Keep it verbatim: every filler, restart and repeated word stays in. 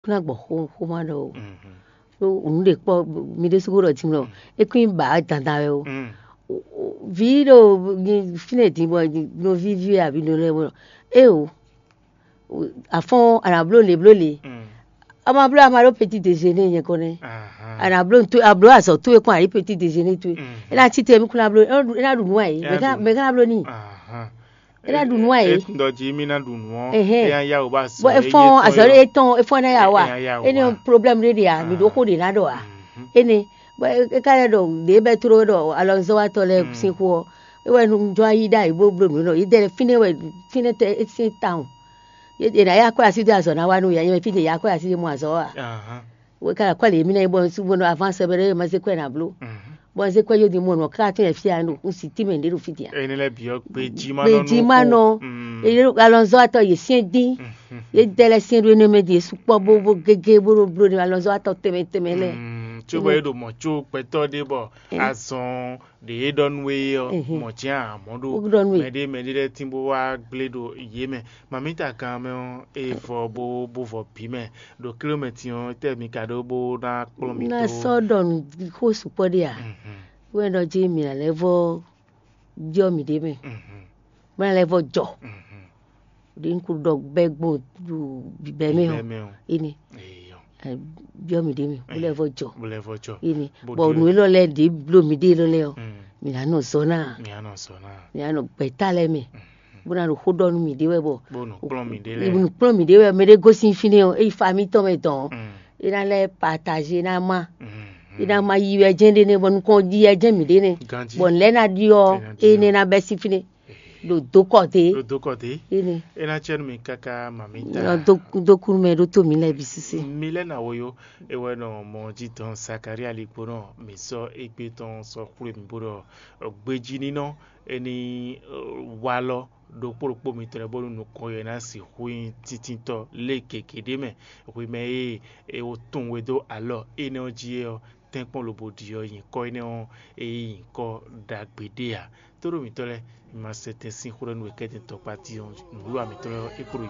kún ná gbɔ xó xó má ɖɔ o. Ɖó nǔ ɖe kpɔ mi ɖésú ko ɖɔ jimlɔ, é kún nyí ba dandan wɛ o. Vǐ ɖo fínɛ́ din bɔ nɔví ví wɛ abǐ nɔ lɛ́ɛ bɔ é o, afɔ́n a nǎ bló lě bló lě. A ma bló a ma ɖó petit déjeuner nyɛ kɔn nɛ́. A nǎ bló nǔ towe, a bló azɔ̌ towe kɔn a yǐ petit déjeuner towe. É ná cí te mí kún ná bló, é ná ɖu nǔ a yě. Mɛ ká ná bló n'i. É ná ɖu nǔ a yě. Etun ɖɔ jí mí ná ɖu nǔ ɔ́, Ɛhɛn. É ná yá wò bá azɔ̌. Bɔ é fɔ́n azɔ̌ ɖé é tɔn é fɔ́n ná yá wa. É ná yá wò É ní wá. Problème ɖé ɖe a mǐ ɖó xó ɖě ná ɖɔ a. Énɛ́ bɔ é ká lɛ́ ɖɔ ɖě bɛ́ tló ɖɔ alɔnuzɔ́watɔ́ lɛ́ɛ sín xó ɔ́, é wɛ un jɔ ayí ɖ'ayǐ bó bló nǔ nɔ. Yě dɛ fínɛ́ wɛ fínɛ́ tɛ é sín tawun. Yě ná yá kwɛ́ así dó azɔ̌ ná wá nú yǎ nyɛ fí ɖě yá kwɛ́ así ɖé mɔ azɔ̌ ɔ́ a. Wě ká kwɛ́ lě mí ná nyí bɔ un sú bó nɔ avance bɛ ɖé ma zé kwɛ́ ná bló. Bɔ un zé kwɛ́ yó din mɔ nɔ ká tɔn yɛ fí a un si tínmɛ ɖě ɖo fí din a. Énɛ́ lɛ́ɛ bǐ ɔ́, gbejí má nɔ Gbejí má nɔ. Nɔ. Alɔnzɔ́ atɔ yě syɛ́n dín. Yě dɛ lɛ́ɛ syɛ́n ɖó énɛ́ mɛ din yě sukpɔ́ bó bó gégé bó ɖo bló ní alɔnzɔ́ atɔ tɛnmɛ tɛnmɛ lɛ́ɛ. Mm, tso bɔ é ɖo mɔ tso gbɛtɔ́ ɖé bɔ azɔn ɖe é ɖɔ nú we ɔ́, Ɛhɛn. Mɔ jɛ́n amɔ̌ ɖo Ó ɖɔ nú we. Mɛɖé mɛɖé lɛ́ɛ tín bó wá gblé ɖo yě mɛ. Mamíta kan mɛ ɔ́, é vɔ bó bó vɔ bǐ mɛ ɖo kilomɛtin ɔ́, tɛ́ mi ka ɖó bó ná kplɔ́n mi Na dó? Sɔ́ ɖɔ nǔ xó sukpɔ́ ɖé a? Mhm, Wɛn ɖɔ jí mǐ ná lɛ́ vɔ byɔ́ mǐɖée mɛ, mhm, bó ná lɛ́ vɔ jɔ. Mhm. Ɖě un ko ɖɔ bɛ́ gbɔn ɖo bǐbɛ́ mɛ ɔ́, Bíbɛ́ mɛ ɔ́. Énɛ́ Eyɔ. Byɔ́ mǐɖée mɛ, bó lɛ́ vɔ jɔ. Bó lɛ́ vɔ jɔ. Énɛ́ Bó Bɔ ɖi nǔ élɔ́ lɛ́ɛ ɖě bló mǐɖée élɔ́ lɛ́ɛ ɔ́, Mm. mǐ ná nɔ zɔ ná. Mǐ á nɔ zɔ ná. Mǐ ná nɔ gbɛ̌ ta lɛ́ɛ mɛ, bó ná ɖo xó ɖɔ nú mǐɖée wɛ bɔ Bó nɔ kplɔ́n mǐɖée lɛ́ɛ. Nǔkplɔ́n mǐɖée wɛ mɛ ɖé gosín fínɛ́ ɔ́, é yi famille tɔn mɛ dɔn ɔ́, Mm. é ná lɛ́ partager, é ná má. Mm. É ná má yi wɛ jɛ́n ɖé nɛ́ bɔ nukɔn ɖi wɛ jɛ́n mǐɖée nɛ́. Ganjí. Bɔ nǔ lɛ́ɛ ná ɖi ɔ́, É ná ɖi é ɔ́. Nɛ́ ná bɛ́ sín fínɛ́. Ɖo dó kɔ dé. Ɖo dó kɔ dé. Énɛ́. É ná cɛ nú mi káká mami ta. Nɔ dó dó kú nú mɛ ɖó tó mǐ lɛ́ɛ bǐ sísí. Mi lɛ́ na wo yó, é wɛ nɔ mɔ jí dɔn Zakaria ligbónɔ mi sɔ́ égbé tɔn sɔ́ xwlé mi bó ɖɔ gbejí nínɔ é ní walɔ ɖokpó ɖokpó mitɔn lɛ́ɛ bónú nukɔn yɛ ná sixú nyí tíntítɔ́ lé gěgé ɖé mɛ. Hwi mɛ e è wo tunwun we dó alɔ énɛ́ ɔ́ jí é ɔ́, tɛ́nkpɔ́n lobo ɖi ɔ́, nyǐkɔ énɛ́ ɔ́, é nyí nyǐkɔ ɖagbe ɖé ǎ. Tóɖó mǐtɔn lɛ́ɛ, mi ma sɛ tɛn sín xó ɖɔ nú we kɛ́tɛn tɔkpá tín ɔ́, nǔwiwa mǐtɔn lɛ́ɛ ɔ́, é kpo ɖo